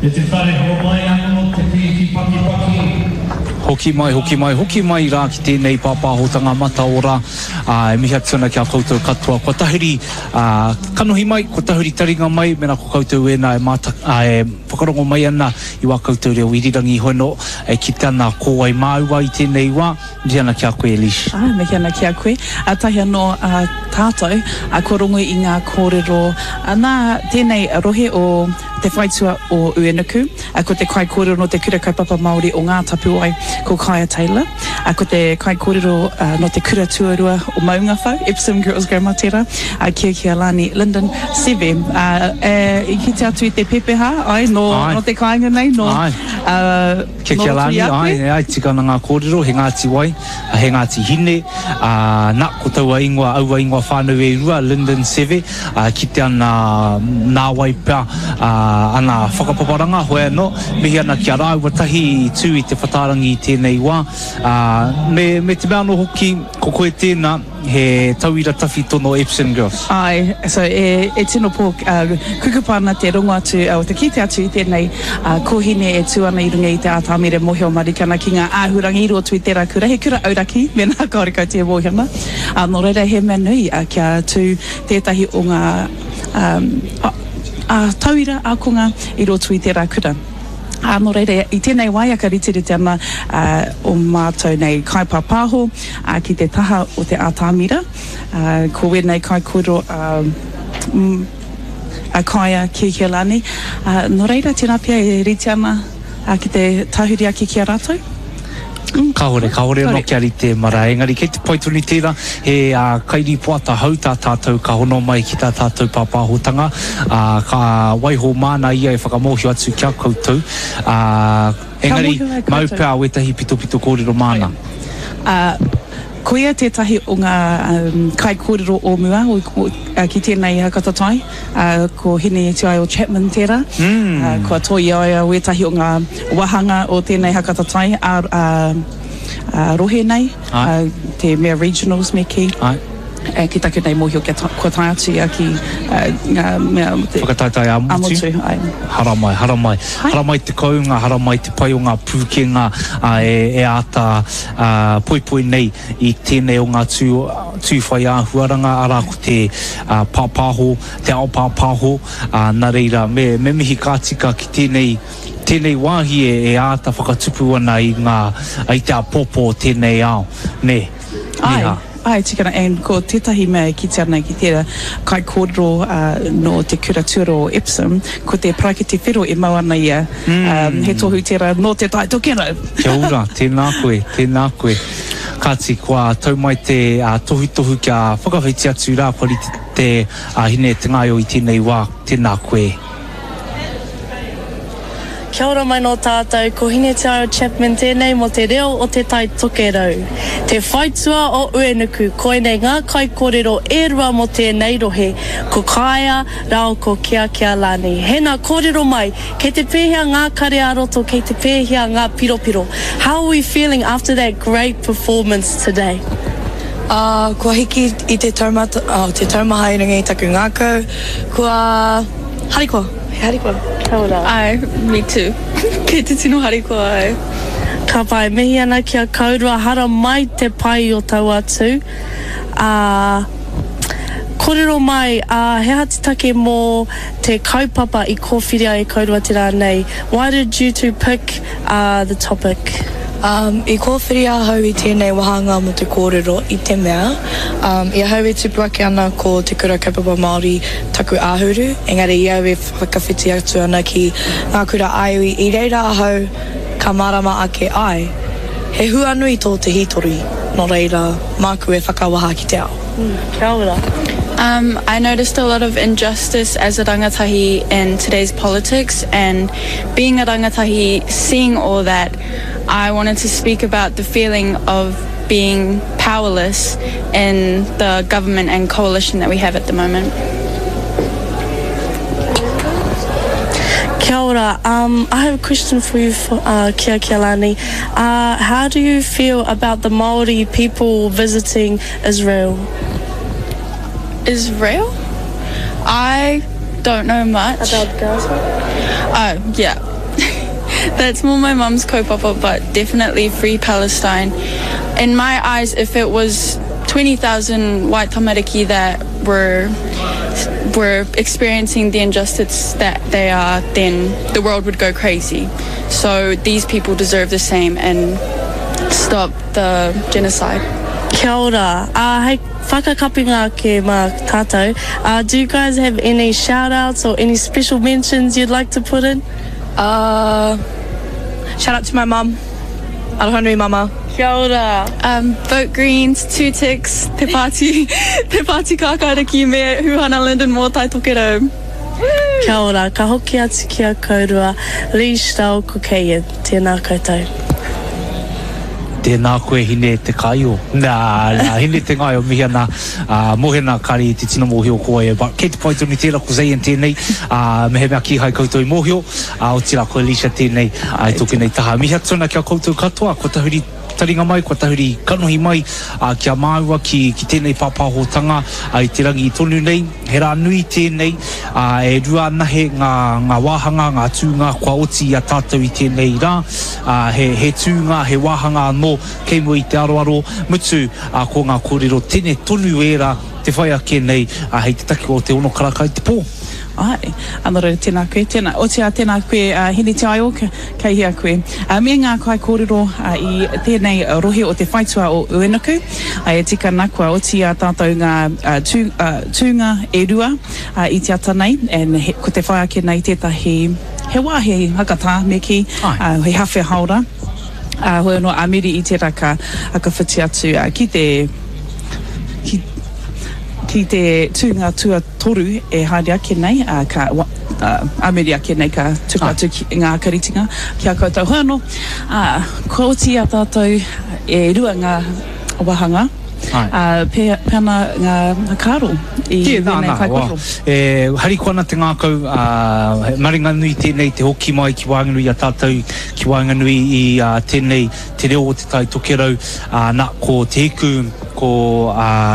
E te whare homai ano te pīki pakipaki. Hoki mai, hoki mai, hoki mai rā ki tēnei pāpāhotanga mataora, ā, e mihi atu ana ki a koutou katoa. Kua tahuri, ā, kanohi mai, kua tahuri taringa mai, mēnā ko koutou ēnā e māta, ā, e whakarongo mai ana i wā koutou reo irirangi hono, e kite ana ko wai māua i tēnei wā. Mihi ana ki a koe, Elish. Āe, mihi ana ki a koe. Tahi anō tātou, kua rongo i ngā kōrero nā tēnei rohe o te whaitua o Uenuku. Ko te kaikōrero nō te Kura Kaupapa Māori o Ngā Tapuwae, ko Kaia Taylor. Ko te kaikōrero nō te Kura Tuarua o Maungawhau, Epsom Girls Grammar tērā, kia Kialani Lyndon Seve. I kite atu i te pepeha, āe, nō te kāinga nei, nō. Kia Nō roto Kealani, i a koe? āe, āe, tika ana ngā kōrero, he Ngāti Wai, he Ngāti Hine, ā, nā, ko taua ingoa, aua ingoa whānau e rua, Lyndon Seve, ā, kite ana nāwai pea, ā, ana whakapaparanga, hoi anō, mihi ana ki a rāua tahi i tū i te whatārangi i tēnei wā, ā, me, me te mea anō hoki, ko koe tēnā, He tauira tawhito no Epsom Girls. Āe, so e, e tino pō, uh, kukupa ana te rongo atu, uh, te kite atu i tēnei uh, kōhine e tū ana i runga i te ātamira e mōhio marika ana ki ngā āhurangi i roto i tērā kura, he kura auraki, mēnā kāore koutou e mōhio ana. Uh, nō reira, he mea nui uh, kia tū tētahi o ngā um, uh, uh, tauira ākonga i roto i tērā kura. Ā, nō reira, i tēnei wā ia ka riterite ana ō mātou nei kaipāpāho ki te taha o te ātamira. Ā, ko wēnei kaikōrero a, a Kaia Kekelani. Ā, nō reira, tērā pea e rite ana ki te tahuri ake ki a rātou. Kāore, kāore anō kia rite marae, engari kei te pai tonu tērā, he kairīpoata hou tā tātou ka hono mai ki tā tātou pāpāhotanga, ā, ka waiho māna ia e whakamōhio atu ki a koutou, ā, engari mau pea wētahi pitopito kōrero māna. Ā, koia tētahi o ngā kaikōrero o mua ki tēnei whakataetae. Ā, ko Hine Tiaio Chapman tērā. Ā, kua toi i a ia wētahi o ngā wāhanga o tēnei haka tatai ā, ā, ā rohe nei, ā, te mea regionals me kī. Āe. Ā, ki taku nei mōhio kia ta, kua tae atu ia ki, ā, ngā mea o te. Whakataetae ā-motu. Ā-motu, āe. Haramai, haramai. Haramai te kounga, haramai te pai o ngā pūkenga, ā, e, e āta, ā, poipoi nei i tēnei o ngā tū, tū whai āhuaranga, arā ko te pāpāho, te ao pāpāho, ā, nā reira, me, me mihi ka tika ki tēnei, tēnei wāhi e, e āta whakatupu ana i ngā, i te āpōpō o tēnei ao, nē, Āe, nē hā. āe, tika ana, and ko tētahi mea e kite ana ki tērā kaikōrero, ā, nō te kura tuarua o Epsom, ko te paraikete whero e mau ana ia, ā, he tohu tērā nō Te Tai Tokerau. Kia ora, tēnā koe, tēnā koe. Kāti, kua tau mai te tohutohu kia whakawhiti atu rā, kua rite te hine te ngaio i tēnei wā, tēnā koe. Kia ora mai nō tātou, ko Hinetiaio Chapman tēnei mō te reo o Te Tai Tokerau. Te whaitua o Uenuku, koinei ngā kaikōrero e rua mō tēnei rohe, ko Kāea rāo ko Keakealani. Hēnā kōrero mai, Kei te pēhea ngā kare ā-roto, kei te pēhea ngā piropiro? How are we feeling after that great performance today? Ā, kua hiki i te taumata, oh, te taumaha i runga i taku ngākau, kua harikoa, he harikoa. Kia ora. Āe, me too. Kei te tino harikoa au. Ka pai, mihi ana ki a kourua, hara mai te pai o taua tū. Ā, korero mai, ā, he aha te take mō te kaupapa i kōwhiria e kourua te rā nei? Why did you two pick, ā, the topic? Um, i kōwhiri ahau i tēnei wāhanga mō te kōrero i te mea, um, i ahau e tupu ake ana ko Te Kura Kaupapa Māori taku āhuru, engari i au e whakawhiti atu ana ki ngā kura ā-iwi, i reira ahau ka mārama ake ai, he huanui tō te hītori, nō reira, māku e whakawaha ki te ao. Kia ora. Um, I noticed a lot of injustice as a rangatahi in today's politics and being a rangatahi, seeing all that, I wanted to speak about the feeling of being powerless in the government and coalition that we have at the moment. Kia ora. Um, I have a question for you, for, uh, Kia Kialani. Uh, how do you feel about the Māori people visiting Israel? Israel? I don't know much. About Gaza? Oh, yeah. That's more my mum's kaupapa, but definitely free Palestine. In my eyes, if it was 20,000 white tamariki that were were experiencing the injustice that they are, then the world would go crazy. So these people deserve the same and stop the genocide. Kia ora. Uh, hei whakakapinga ake mā tātou, uh, do you guys have any shout-outs or any special mentions you'd like to put in? Uh, shout out to my mum. Aroha nui, mama. Kia ora. Um, vote Greens, two ticks, Te Pāti, Te Pāti Kākāriki me Huhana Lyndon mō Tai Tokerau. Kia ora, ka hoki atu ki a kourua, Leash rāua ko Kayen, tēnā koutou. Tēnā koe Hine te Kaio. Nā, nā, Hine te Ngaio, mihi ana, ā, mōhena kāre i te tino mōhio ko wai e, but kei te pai tonu tērā ko Zayn tēnei, ā, mehemea kīhai koutou i mōhio, ā, otirā ko Alicia tēnei, ā, i tōku nei taha. Mihi atu ana ki a koutou katoa, kua tahuri taringa mai, kua tahuri kanohi mai, ā, ki a māua ki, ki tēnei pāpāhotanga, ā, i te rangi tonu nei. He rā nui tēnei, ā, e rua anahe ngā, ngā wāhanga, ngā tūnga kua oti i a tātou i tēnei rā. Ā, he, he tūnga, he wāhanga anō kei mua i te aroaro, mutu, ā, ko ngā kōrero tene tonu ērā te whai ake nei, ā, hei te takiwā o te ono karaka i te pō. Āe. Ā, nō reira, tēnā koe, tēnā. Otirā, tēnā koe, a Hine Te Aio, kei hea koe. Ā, me ngā kaikōrero i tēnei rohe o te whaitua o Uenuku. Ā, e tika ana, kua oti i a tātou ngā tū, tūnga e rua i te ata nei, and he, ko te whai ake nei tētahi, he wāhi hakatā, me kī, ā, he hawhe haora. Ā, hoi anō, ā muri i tērā ka, ka whiti atu ki te, ki, ki te tūnga tuatoru e haere ake nei, ā, ka, ā, ā muri ake nei ka tuku atu ki ngā karitinga ki a koutou. Hoi anō, ā, kua oti i a tātou e rua ngā wāhanga, ā, pēhea ana ngā whakaaro i wēnei kaikōrero? E harikoa ana te ngākau, ā, he maringanui tēnei te hoki mai ki waenganui i a tātou, ki waenganui i tēnei te reo o Te Tai Tokerau, ā, nā, ko Te Hiku, ko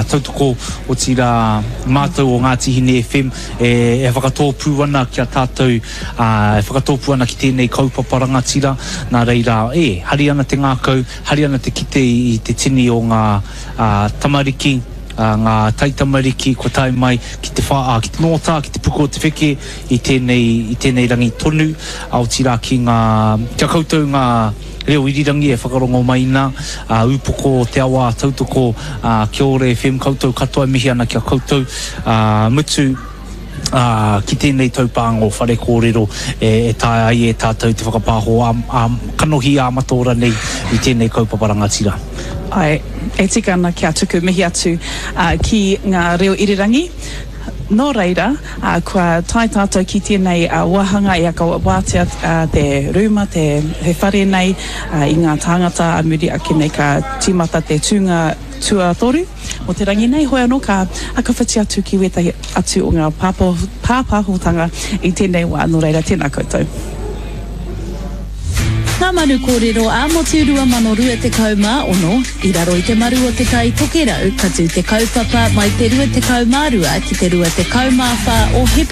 Tautoko, otirā mātou o Ngāti Hine FM e, e whakatōpū ana ki a tātou, ā, e whakatōpū ana ki tēnei kaupapa rangatira, nā reira, e, hari ana te ngākau, hari ana te kite i te tini o ngā, ā, tamariki, ā, ngā taitamariki kua tae mai ki te whā, ā, ki te nōtā, ki te puku o te wheke i tēnei, i tēnei rangi tonu, ā, otirā ki ngā, ki a koutou ngā reo irirangi e whakarongo mai nā, ā, ūpoko o te awa tautoko, ā, kia ora FM koutou katoa e mihi ana ki a koutou, ā, mutu, ā, ki tēnei taupānga o Whare Kōrero e, e taea ai e tātou te whakapāho ā, ā, kanohi ā mataora nei i tēnei kaupapa rangatira. Āe, e tika ana kia tuku mihi atu, ā, ki ngā reo irirangi. Nō reira, kua tae tātou ki tēnei wāhanga e aka wātea te rūma, te whare nei i ngā tāngata a muri ake nei ka tīmata te tūnga tuatoru o te rangi nei. Hoi anō ka whakawhiti atu ki wētahi atu o ngā pāpāhotanga i tēnei wā. Nō reira, tēnā koutou. Ngā Manu Kōrero ā-Motu 2026, I raro i te maru o Te Tai Tokerau, ka tū te kaupapa mai te 22 ki te 24 o Hepetema.